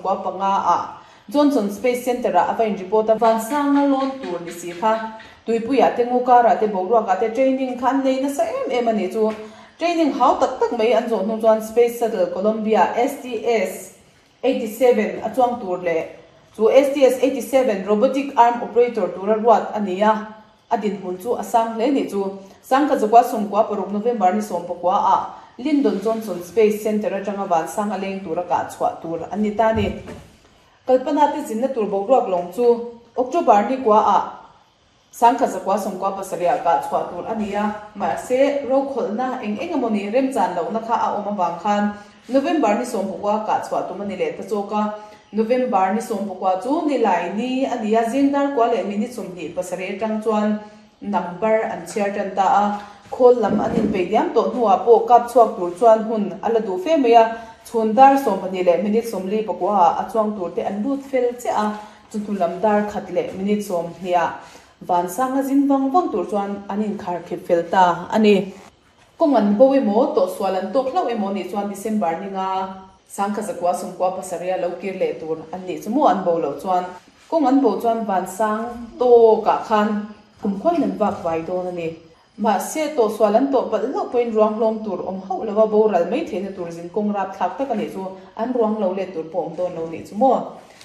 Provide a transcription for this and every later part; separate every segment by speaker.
Speaker 1: 95 ah Johnson Space Center ah a va in report a. Vansanga lawn tur ni si kha tuipuiah te ngukarah te boruakah te training kha an nei nasa em em a nih chu. Training hau tak tak mai an zawh hnu chuan Space Shuttle Columbia, STS, 87 a chuang tur leh chu STS 87 Robotic Arm Operator tura ruat a ni a, a dinhmun chu a sang hle nih chu. Sangkazukua 16 November ni 19 ah Lyndon Johnson Space Center atanga vansang a leng tura kah chhuah tur an ni ta a ni. Kalpana te zinna tur boruak lawng chu October ni kua ah 1997 ah kah chhuah tur a ni a, mahse rokhawlhna eng eng emaw ni remchan lohna kha a awm avang khan November ni 19 kah chhuah tum a ni leh ta chawk a. November ni 19 chu Nilai ni a ni a, zing dar kua leh minute 27 atang chuan number an chhiar tan ta a. Khawl lam an inpeih diam tawh hnuah pawh kap chhuak tur chuan hun a la duh fe mai a, chhun dar 12 leh minute 49 ah a chuang tur te an lut fel chiah a. Chu hnu lam dar khat leh minute 20 ah vansanga zin vang vang tur chuan an inkhar khip fel ta a ni. Kawng an bo emaw, tawhsual an tawk hlauh emaw nih chuan December ninga 1997 a lo kir leh tur an nih chu maw an bo loh chuan kawng an bo chuan vansang tawkah khan kumkhuain an vak vai dawn a ni. Mahse, tawhsual an tawh palh hlauh pawhin ruang hlawm tur awm hauh lova boral mai theihna tur zinkawng rapthlak tak a nih chu an ruang lo let tur pawh awm dawn lo nih chu maw?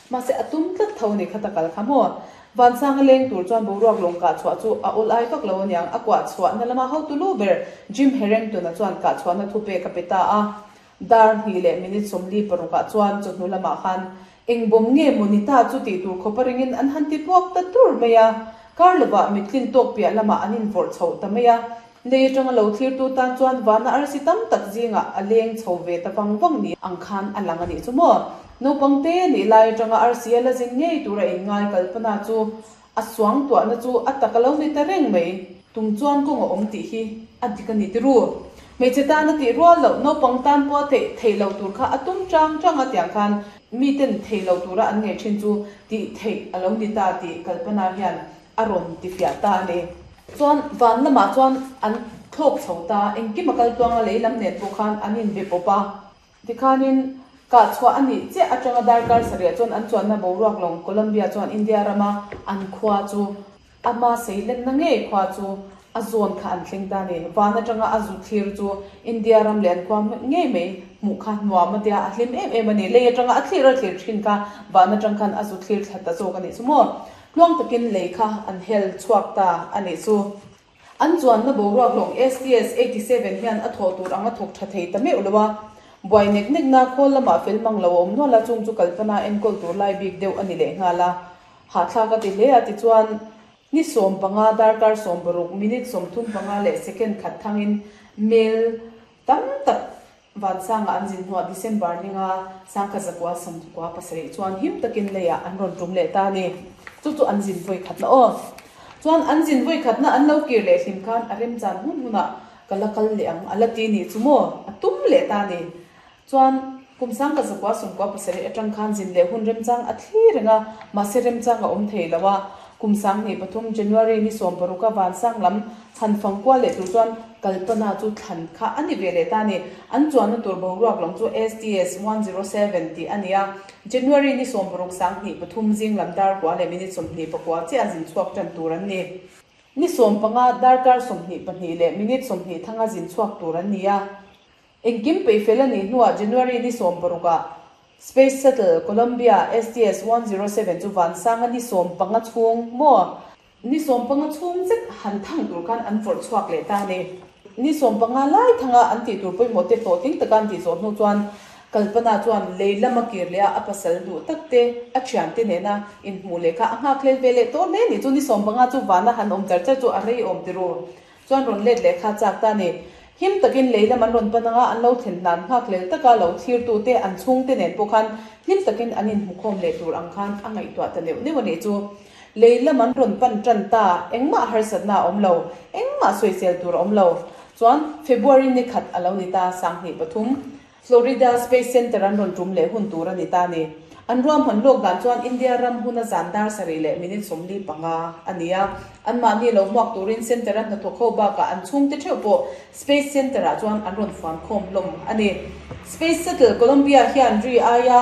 Speaker 1: Mahse, a tum tlat tho a nih kha ta kal kha maw? Vansanga leng tur chuan boruak lawng kah chhuah chu a awl ai vak lo aniang, a kuah chhuahna lama hotu lu ber Jim Harrington-a chuan kah chhuahna thupek a pe ta a. Dar hnih leh minute 46 ah chuan chawhnu lamah khan eng bawm nge maw ni ta chu tih tur khawpa ringin an han ti puak ta tur mai a. Kar lovah mittlin tawk piah lamah an invawrh chhoh ta mai a. Lei atanga lo thlirtu tan chuan vana arsi tam tak zingah a leng chho ve ta vang vang ni ang khan a lang a nih chu maw. Naupang te nih lai atanga arsi a la zin ngei tura inngai Kalpana chu A suangtuahna chu a tak a lo ni ta reng mai. Tum chuan kawng a awm tih hi a dik a ni ti ru. Hmeichhe tan a tih rual loh, naupang tan pawh a theih theih lo tur kha a tum chang chang a tiang khan miten thei lo tura an ngaih thin chu tih theih a lo ni ta tih Kalpana hian a rawn ti fiah ta a ni. Chuan van lamah chuan an thlawk chho ta, engkim a kal tluang a lei lam nen pawh khan an inbe pawp a. Tikhanin, kah chhuah a nih chiah atanga darkar sarih chuan an chuanna boruak lawng Colombia chuan India rama an khua chu ama seilenna ngei khua chu a zawn kha an thleng ta a ni. Van atanga a zu thlir chu India ram leh an khua ngei mai hmuh kha nuam a tia, a hlim em em a ni. Lei atanga a thlir a thlir thin kha van atang khan a zu thlir thla ta zawk a nih chu maw. Tluang takin lei kha an hel chhuak ta a nih chu. An chuanna boruak lawng STS 87 hian a thawh tur ang a thawk tha thei ta meuh lo a, buai nek nekna khawl lamah fel mang lo a awm nual a, chung chu Kalpana enkawl tur lai bik deuh a ni leh nghal a. Hahthlak a ti hle a, tichuan ni 15 darkar 16 minute 35 leh second khat thangin mail tam tak Vansanga an zin hnuah December ninga 1997 chuan him takin leiah an rawn tum leh ta a ni. Chu chu an zin vawi khatna aw. Chuan an zin vawi khatna an lo kir leh hlim khan a remchan hun hunah ka la kal leh ang a la ti nih chu maw? A tum leh ta a ni. Chuan kum 1997 atang khan zin leh hun remchang a thli reng a, mahse remchang a awm thei lo a. Kum 2003 January ni 16 a Vansang lam Han fang kual leh tur chuan Kalpana chu thlan kha a ni ve leh ta a ni. An chuanna tur boruak lam chu STS 107 tih a ni a. January ni 16 2003 zing lam dar kua leh minute 29 chiah a zin chhuak tan tur an ni. Ni 15 darkar 22 leh minute 20 thanga zin chhuak tur an ni a. Engkim peihfel a nih hnuah January ni 16 ah Space Shuttle Columbia STS 107 chu vansanga ni 15 chhung maw? Ni 15 chhung zet han thang tur khan an vawrh chhuak leh ta a ni. Ni 15 lai thanga an tih tur pawimawh te hlawhtling taka an tih zawh hnu chuan Kalpana chuan lei lama kir leh a a pasal duh tak te, a thiante nena inhmuh leh kha a nghakhlel ve leh tawh hle a ni. Chu ni 15 chu vana han awm char char chu a rei awm ti ru. Chuan rawn let leh kha chak ta a ni. Him takin lei lam an rawn pan anga an lo thlen hnan nghakhlel taka lo thlirtute an chhungte nen pawh khan hlim takin an inhmukhawm leh tur ang khan a ngaihtuah ta neuh neuh a nih chu. Lei lam an rawn pan tan ta, engmah harsatna a awm lo, engmah sawisel tur a awm lo. Chuan February ni khat a lo ni ta, 2003, Florida Space Center an rawn tum leh hun tur a ni ta a ni. An ruahman lawk dan chuan India ram huna zan dar sarih leh minute 45 a ni a. Anmahni lo hmuak turin Center a hnathawk ho bakah an chhungte theuh pawh Space Center ah chuan an rawn fuan khawm hlawm a ni. Space Shuttle Columbia hian ri aia.